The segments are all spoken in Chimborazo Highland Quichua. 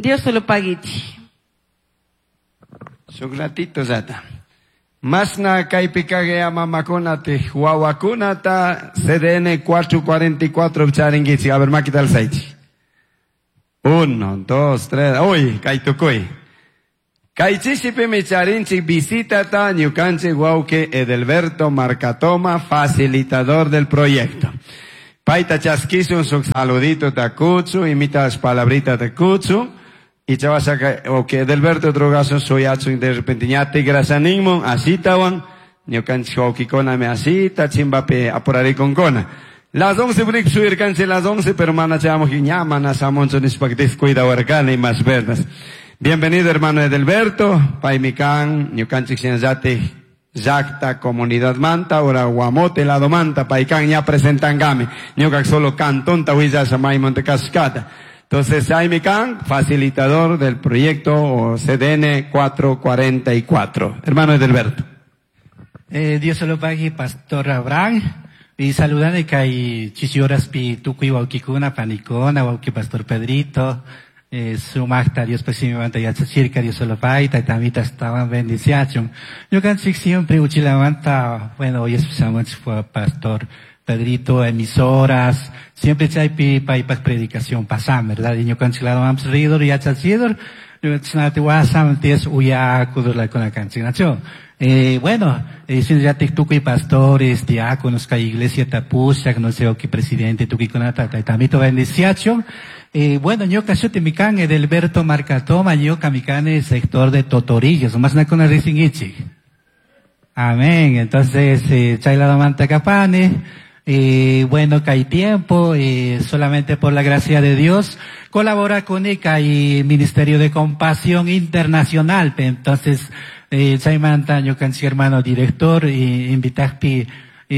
Dios lo paguichi. Shuk ratito llata. Masna kaypi kaq mamakunata wawakunata CDN 444 charinkichik. A ver, makita alzaychik. Uno, dos, tres. Uy, kay tukuy. Kay chishipimi charinchik visitata ñukanchik wawqi Edelberto Marcatoma, facilitador del proyecto. Payta chaskishun shuk saludito ta kuchu, imitas palabrita ta kuchu. Y chavasaka, ok, Edelberto drogasun suyachun de repente ña tikrasaninmun, asitawan, ñukanchik wawqikunami asita, chimbapi apurarikunkuna. Las 11 brik suyirkanchik las 11, pero mana chayamuk ña mana shamunchu nishpa descuidawarkani más verdas. Bienvenido hermano Edelberto, paymi kan, ñukanchik shinallatik llakta comunidad manta, ora Guamote lado manta, paykan ña presentankami, ñuka solo cantonta willasha maymonte kashkata. Entonces, chaymi kan, facilitador del proyecto o CDN 444. Hermano Edelberto. Dios lo pague, Pastor Abraham. Y saludando que hay chichihoras pi tukuy wawqikuna, panikuna, wawqi Pastor Pedrito, sumaqta Dios pues simimanta yachachirka, Dios lo pague, taytamita estaban bendiciachun. Ñukanchik siempre uchilamanta, bueno, hoy escuchamos fue Pastor Pedrito, emisoras, siempre chaypi paypaq predicación pasan, ¿verdad? Y ñukanchik lado ridor yachachidor, ñukanchik wasam ties uyakudur la con la canchinacho. Bueno, shinllatik tukuy pastores, diáconos, kay iglesia tapushak, no sé, qué presidente, tukuy kunata, taytamito bendiciacho. Bueno, ñuka shuti mikan Edelberto Marcatoma, ñuka mikani sector de Totorillos, más na con risingichi. Amén. Entonces, chayladomanta kapani. Bueno, que hay tiempo, solamente por la gracia de Dios, colabora con ICA y Ministerio de Compasión Internacional. Entonces, chaymanta ñukanchik hermano director, invitakpi,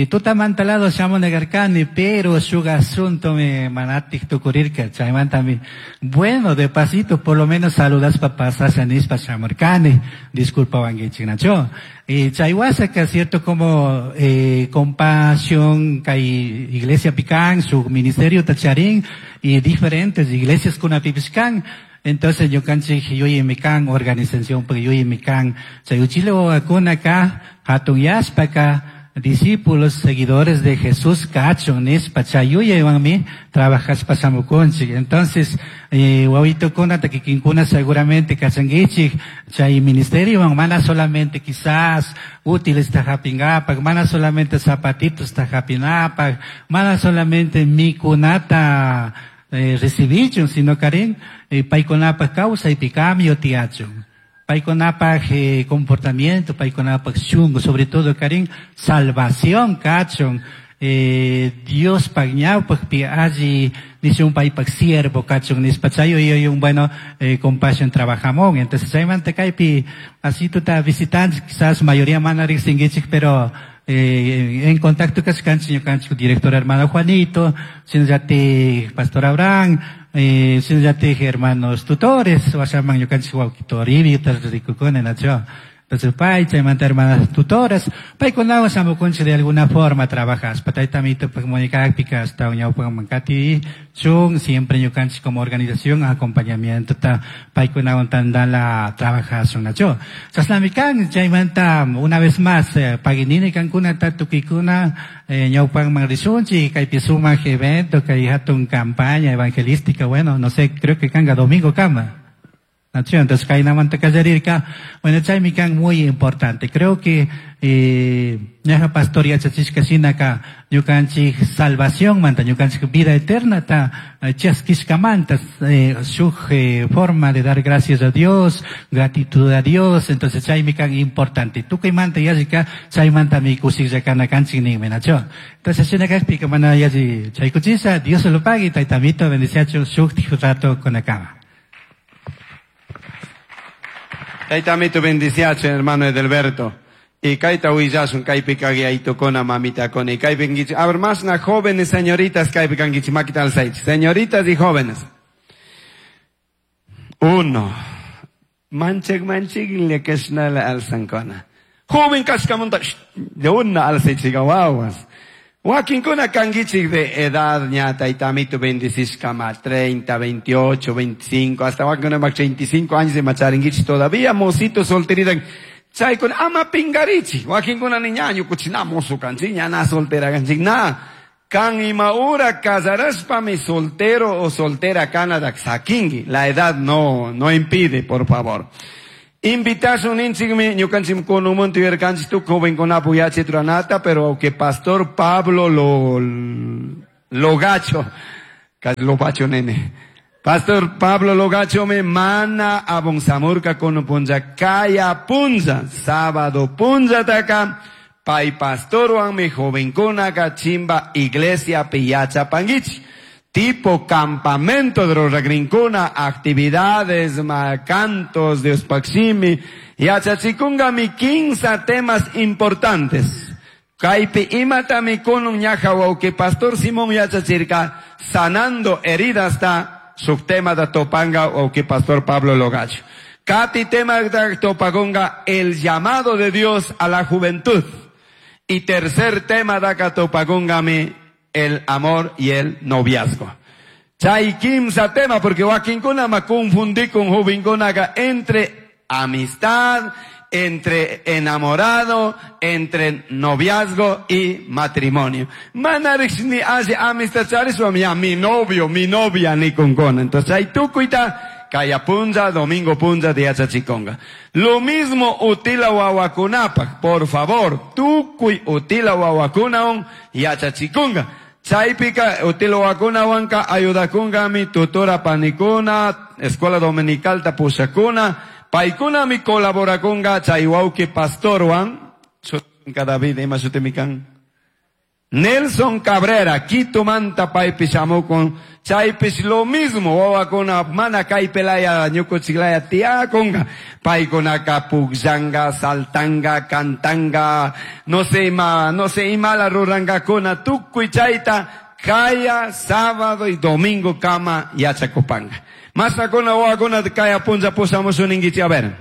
tutamanta lado shamo negarkani, pero shuk asunto me manatik tukurirka, chaymanta mi, bueno, de pasito, por lo menos saludas papás, nispa shamurkani, disculpa wangichik nacho. Chaywasa que cierto como, compasión, kay iglesia pican, su ministerio tacharín, y diferentes iglesias kunapipishkan. Entonces, ñukanchik yuyimikan organización, porque yuyimikan, chayuchile wawakuna ka, hatun yashpa ka, discípulos, seguidores de Jesús, kachun, nispa, chayuyaywanmi, trabajaspa shamukunchik. Entonces, wawitukuna, takikinkuna seguramente kachankichik, chay ministerio, mana solamente quizás útiles tajapingapak, mana solamente zapatitos tajapinapak, mana solamente mikunata, recibichun, sino karin, paykunapaq kawsaypi cambio tiyachun. Paykunapaq comportamiento, paykunapaq shunku, sobre todo karin, salvación kachun. Dios paq ñawpaqpi alli nishun paypaq siervo kachun nispa chayo y un bueno, compasión trabajamón. Entonces chaymanta kaypi así tuta visitantes, quizás mayoría mana riqsinkichik, pero en contacto kashkanchik ñukanchik director hermano Juanito, shinallati Pastor Abraham, shinallati hermanos tutores, washaman ñukanchik wawqi Toribio, rikukuna nacho. Entonces, pay, chaymanta hermanas tutoras, paykunawan shamukunchik de alguna forma trabajas. Taytamito, pues, comunicakpika, hasta ñawpa mankati, chun, siempre ñukanchik como organización, acompañamiento, ta, paykunawan tandala trabajasun nacho. Chashnamikan, chaymanta, una vez más, paginini kankuna, ta, tukikuna, ñawpan manrishunchik, kaypi sumaq evento, kay hatun campaña evangelística, bueno, no sé, creo que kanga domingo kama. Nacho, entonces, kaynamanta kallarirka, bueno, chaymi kan muy importante. Creo que, ñaja pastor yachachishka shinaka, ñukanchik salvación manta, ñukanchik vida eterna ta, chaskishkamanta, shuk, forma de dar gracias a Dios, gratitud a Dios, entonces chaymi kan importante. Tukuymanta yallika, chaymanta mi kushikllakana kanchik ninmi, nacho. Entonces, shinakakpika mana yalli chaykuchisa, Dios se lo pague, taytamito, bendiciacho, shuk rato con la cama. Taytamito bendiciacho, hermano Edelberto. Y kayta willasun kaypi kaq yaytukuna mamitakuna. Y kaypi kankichik, a ver, más na jóvenes señoritas kaypi kankichik, makita alzaychik. Señoritas y jóvenes. Uno. Manchik, manchik, le kashnala alzankuna. Joven kashkamunta, shh, de una alzaychika wawas. Wakinkuna kankichik de edad ña taytamito bendicishkama 30, 28, 25, hasta wakinkuna 35 años de macharinkichik todavía mosito solterita. Chaykuna ama pingarichik. Wakinkuna ni ña ñukuchik na mozo kanchik, ña na soltera kanchik, na. Kan ima hora casarashpami soltero o soltera kana sakingi. La edad no impide, por favor. Invitación ninchikmi ñukanchik kunumunta yuyarkanchik tukuy jovenkunapu yachay ruranata, pero que pastor Pablo lo gacho, casi lo bacho nene. Pastor Pablo Logacho me mana abonsamurka kunu punlla kaya punlla, sábado punlla taka, pai pastor mi jovenkunaka chimba iglesia piyacha panguichi. Tipo campamento de los ragrincuna, actividades, cantos de Ospaximi, y achachikunga mi 15 temas importantes. Kaipi imata mi kunun ñaja que pastor Simón yachachirka, sanando heridas ta, subtema da topanga o que pastor Pablo Logacho. Kati tema da topagonga, el llamado de Dios a la juventud. Y tercer tema da katopagonga mi, el amor y el noviazgo. Chay kimsa tema, porque wakinkuna ma confundí con jovenkunaga entre amistad, entre enamorado, entre noviazgo y matrimonio. Manarix ni hace amistad, chariswa, ya, mi novio, mi novia, ni con con. Entonces, hay tukuita, kaya punza, domingo punza, de achachiconga. Lo mismo utila wawakunapa, por favor, tukuy utila wawakunaon y achachiconga. Chaypika utila wawakunawanka ayudakunga mi tutora panikuna, escuela dominical tapushakuna, paikuna mi colaborakunga chaywauki pastorwan, David, ima shutimikan. Nelson Cabrera, Quito manta paipi shamukun, chaypis lo mismo, wawakuna mana kaypelaya ñukuchiklaya tiakunga, paykunaka pukllanga, saltanga, cantanga, no sé ima, no sé imala rurangakuna, tukuy chayta, kaya, sábado y domingo kama yachakupanga. Masakuna wawakuna kaya punlla pushamushunninkichik, a ver.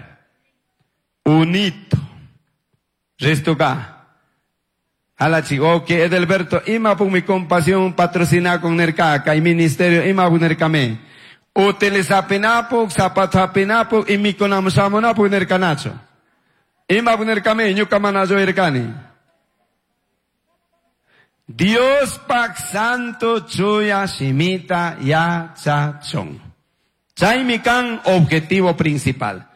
Unito. Resto ka. Alachi, ok, Edelberto, ima pun mi compasión patrocina con nerka, kay ministerio, ima pun nerkame. Utilizapinapu, zapatapinapu, y mi conamsamonapu nerkanacho. Ima pun nerkame, ñuka manayo erkani. Dios pak santo chuya shimita ya cha chon. Chay mi kan objetivo principal.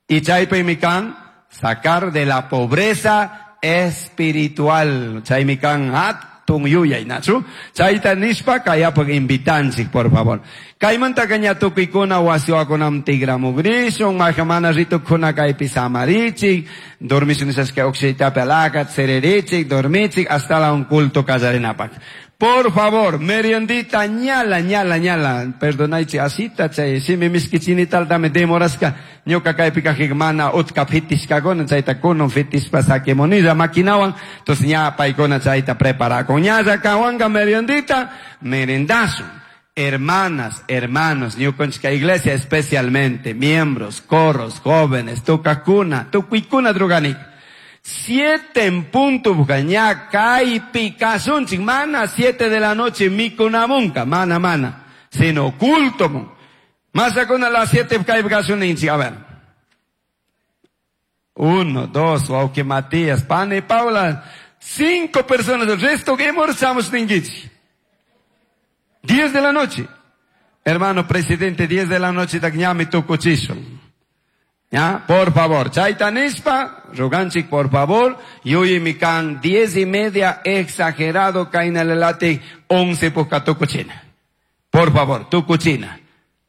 Y chay pe mi kan sacar de la pobreza espiritual. Chay mi kan hatun yuyay, nachu. Chayta nishpa kayapag invitanchik, por favor. Kaymanta kaña tukikuna wasiwakunam tigramugrisyon, mahamana ritukuna kaypi samarichik, dormishun nisashka ukshaytapi alakat, sererichik, dormichik, hasta la un culto kallarinapak. Por favor, meriendita, ñala, ñala, ñala. Perdonaichi, asita, chay, simi miskichini tal, dame demoraska, ñuka kaypi kajik mana utka fitishkakuna, chayta kunun fitishpa sakemonilla maquinawan, entonces ña paykuna chayta preparakun. Ñalla kawanga meriendita, merendasun. Hermanas, hermanos, ñukanchika iglesia especialmente, miembros, coros, jóvenes, tukakuna, tukuykuna druganik. 7 en punto, ña kaypi kasunchik, mana 7 de la noche mikunamunka, mana, mana, sino culto mun. Masakuna las 7 kaypi kasuninchik, a ver. 1, 2, wauki Matías, Pane, Paula, 5 personas, el resto que hemos ninguichi. 10 de la noche. Hermano presidente, 10 de la noche, takñami tukuchishun. ¿Ya? Por favor, chayta nishpa, roganchik, por favor, yuyi mikan 10:30, exagerado, kainalelate, 11 poca tukuchina. Por favor, tukuchina.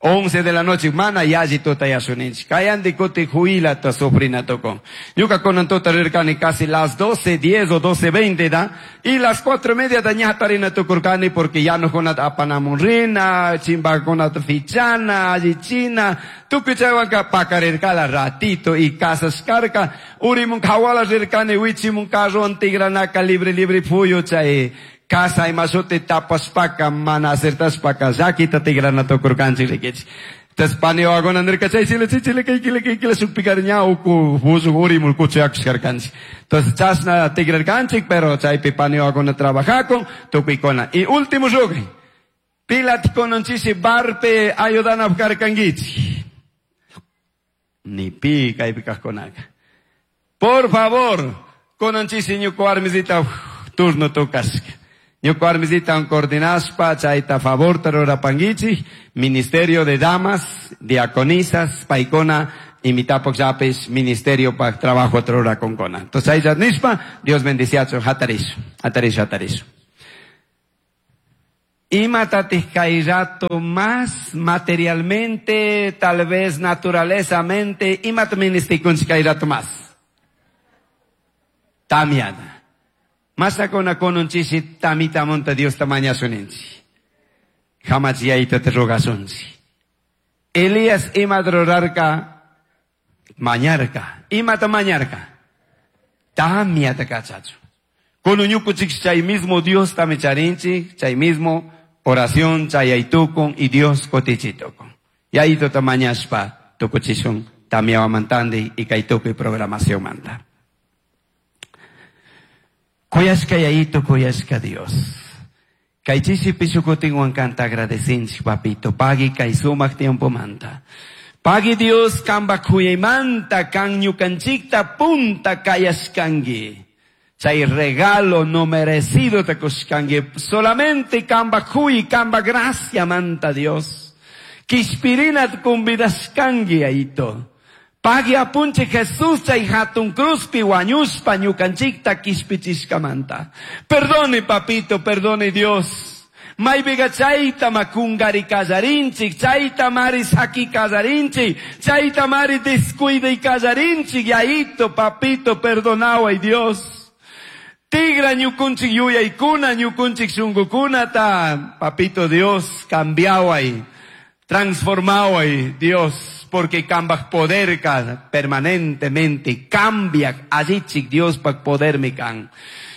11 de la noche, mana yaji tota yasuninch. Kayandi kuti huila ta sufrina tocon. Yuka konan tota rirkani casi las 12:10 o 12:20 da. Y las 4:30 da ñatarina tukurkani porque ya no konat apanamurrina, chimba konat fichana, allichina, tukuchawanka pakarirkala ratito y casas karka, urimun kawala rirkani, wichimun carro antigranaka libre libre fuyo chay. Casa y masote tapas paca, mana acertas paca, yakita tigrana tokurkanchi rikichi. Entonces paniwakuna nirka chay chile chichile kay kile kay kile shukpikari ña uku buzu urimul kuchuyakushkarkanchik. Entonces chashna tigrarkanchik, pero chaypi paniwakuna trabajakun tukuykuna. Y último rugay. Pilat kunanchisi barpe ayudanapaq karkankichik. Ni pi kaypi kaqkunaka. Por favor, kunanchisi ñuka warmisita turno tukashka. Ñuka warmisita coordinashpa chayta favor rurapankichik, Ministerio de Damas, Diaconisas, paykuna, imitapok llapis, Ministerio pa trabajo rurakunkuna. Entonces ahí ya nishpa, Dios bendiciachu, hatarish, hatarish, hatarish. Imatatik kay rato más materialmente, tal vez naturalezamente, imata ministikunchik kay rato más. Tamiana. Masakuna kununchisi tamita monta Dios tamañasuninchi. Hamachiyaita te rogasunchi. Elías imata rurarka, mañarka. Imata mañarka. Tamiata kachachu. Kunuñukuchik chay mismo Dios tamicharinchi, chay mismo oración chayaytukun y Dios kotichitukun. Yayito tamañashpa tukuchishun tamiawamantandi y kaytukuy programación manta. Kuyashka yayito, kuyashka Dios. Kaychishi pishukutinwan kanta agradecinchik, papito. Pagui kay sumak tiempo manta. Pagui Dios kamba kuyaymanta kan ñukanchikta punta kayashkanki. Chay regalo no merecido te kushkanki. Solamente kamba kuy, kamba gracia manta Dios. Kishpirinat kumbidashkanki ayito. Pagui apunche Jesús chay hatun cruzpi wañushpa ñukanchikta kishpichishkamanta. Perdone papito, perdone Dios. Maypiqa chayta makungari kallarinchik, chayta mari saki kallarinchik, chayta mari descuida kallarinchik, yayito, papito, perdonaway Dios. Tigra ñukunchik yuyaykuna, ñukunchik shunkukunata, papito Dios, cambiaway, transformaway Dios, porque kambaj poderka permanentemente cambia allichik Dios pak poder mi kan.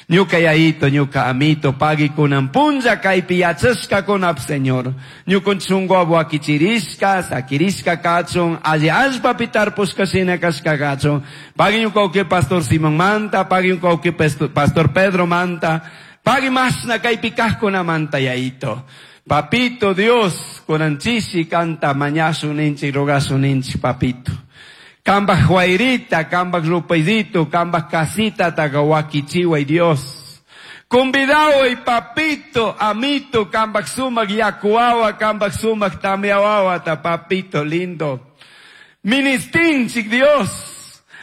Ñuka yayito, ñuka amito, pagui kunan punlla kaypi yachashka kunap Señor. Ñukun chungo abuakichirishka, sakirishka kachun, alli allpapi tarpushka shina kashka kachun. Pagui ñuka uke pastor Simón manta, pagui ñuka uke pastor Pedro manta, pagui mashna kaypi kajkuna manta yayito. Papito Dios, kunanchishi kanta mañasu ninchi, rogasu ninchi, papito. Kambaj huayrita, kambaj rupaydito, kambaj casita, tagawakichiway Dios. Convidaway papito, amito, kambaj sumak yakuawa, kambaj sumak tamiawawa, ta papito lindo. Ministinchik Dios.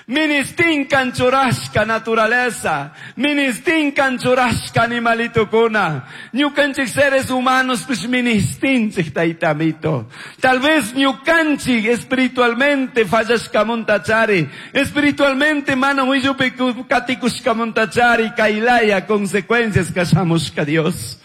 Ministin kanchurashka naturaleza. Ministin kanchurashka animalito kuna. Ñukanchik seres humanos pues ministinchik taitamito. Tal vez ñukanchik espiritualmente fallashka montachari. Espiritualmente mana huillupi katikushka montachari kailaya consecuencias kashamushka Dios.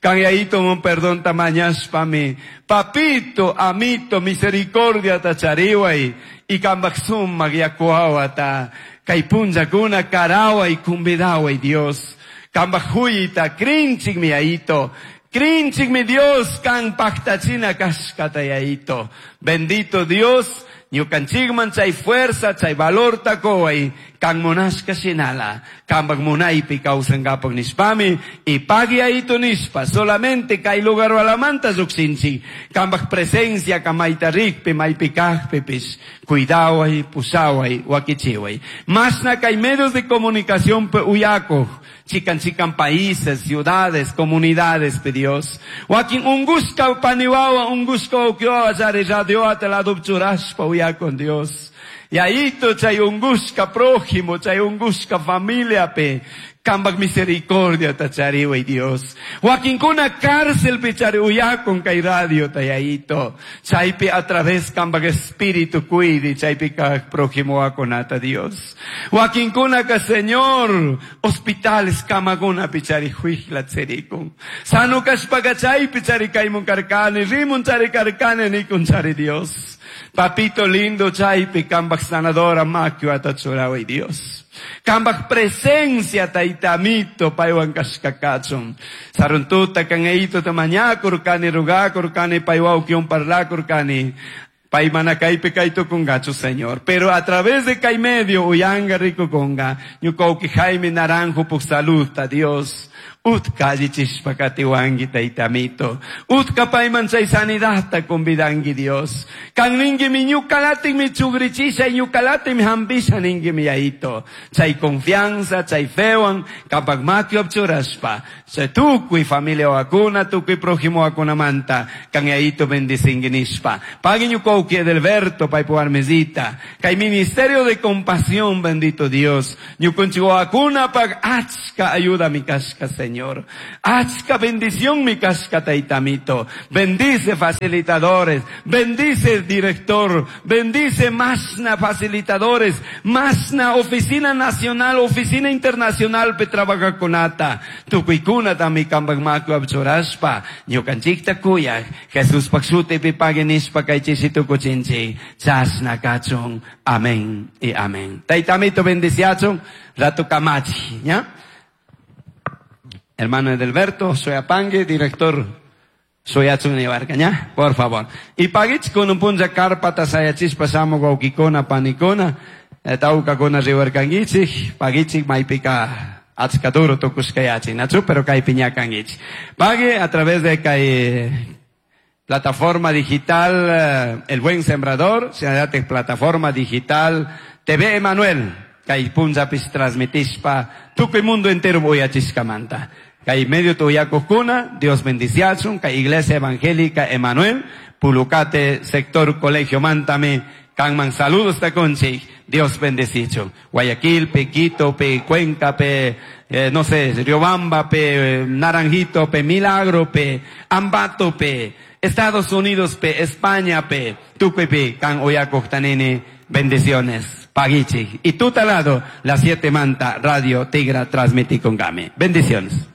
Kanyaito mon perdón tamañashpami. Papito, amito, misericordia tachariway. Y kambaksum magyakuawata. Kaypunjakuna karaway kumbidaway Dios. Kambajuyita krinchik mi aito. Krinchik mi Dios kan paktachina kashkata yaito. Bendito Dios. Ñukanchikman chay fuerza, chay valor takoway, kan monashka shinala, kambak munaypi kawsankapak nishpami, y pagui ayito nishpa, solamente kay lugar walamanta llukshinchik, kambak presencia kamayta rikpi, maypi kajpipis, cuidaway, pusaway, wakichiway. Masna kay medios de comunicación pe uyakoj, chikan chikan países, ciudades, comunidades, pe Dios. Wakin ungushka paniwawa, ungushka ukiowa, chari radio ateladupchurashpa uya con Dios. Y ahí chay ungushka prójimo, chay ungushka familia pe. Kambak misericordia tachariway Dios. Wakinkuna cárcel pe chari uyakon kay radio tayayito. Chaypi a través kambak espíritu cuide, chaypi ka prójimo akonata Dios. Wakinkuna ka Señor, hospitales kamaguna pichari huijla tserikun. Sano kashpaka chaypi chari kaymun karkani, rimun chari karkani nikun chari Dios. Papito lindo chaypi kambak sanadora makio atachuraway Dios. Kambak presencia taitamito paywan kashkakachun. Saruntuta kangeito tamañakur kani rugakur kani paywaukion parlakur kani. Pay mana kaypi kay tukungachu, Señor. Pero a través de kay medio uyanga rikukunga. Ñuka wawki Jaime Naranjo puk saludta, Dios. Utka allichishpa katiwanki taytamito. Utka payman chay sanidadta convidanki Dios. Kan ninkimi ñukalatikmi chugrichisha ñukalatikmi hampisha ninkimi Yayito. Chay confianza, chay fewan, kapak makipi churashpa. Chay tukuy familia wakuna, tukuy prójimo wakunamanta, kan Yayito bendicinki nishpa. Pagui ñuka wawki Edelberto, paypu warmisita. Kay ministerio de compasión, bendito Dios. Ñukunchik wawakunapaq achka ayuda mi kashka, Señor. Achka bendición mi kashka taytamito. Bendice facilitadores, bendice director, bendice masna facilitadores, masna oficina nacional, oficina internacional pe trabajakunata. Tukuykunatami kampak makipi churashpa, ñukanchikta kuyaj, Jesuspak shutipi pagui nishpa kay chishi tukuchinchik. Chashna kachun. Amén y amén. Taytamito bendiciachun, rato kamachi, ¿ya? Hermano Edelberto, soy Apangue, director Soyachun ¿ya? Por favor. Y paguich con un punja carpata sayachispa shamuj wawkikuna panikuna, tawkakuna riwarkanguichik, paguichik maypika achka duro tukushkayachi, nachu, pero kaypi ña kanguichik. Pague a través de kay plataforma digital El Buen Sembrador, shinallatik plataforma digital TV Emanuel, kay punllapis transmitishpa tukuy mundo entero uyachishkamanta. Kay medio tuyakukuna, Dios bendiciachun, kay Iglesia Evangélica Emanuel, Pulucate, sector Colegio Mantame, kanman saludos takunchik, Dios bendecichun. Guayaquil, pe Quito, pe Cuenca, pe, no sé, Riobamba, pe Naranjito, pe Milagro, pe Ambato, pe Estados Unidos, pe España, pe tukuy pe kan uyakuktanini, bendiciones. Paguichik. Y tutalado, las 7 manta, Radio Tigra transmití con Game. Bendiciones.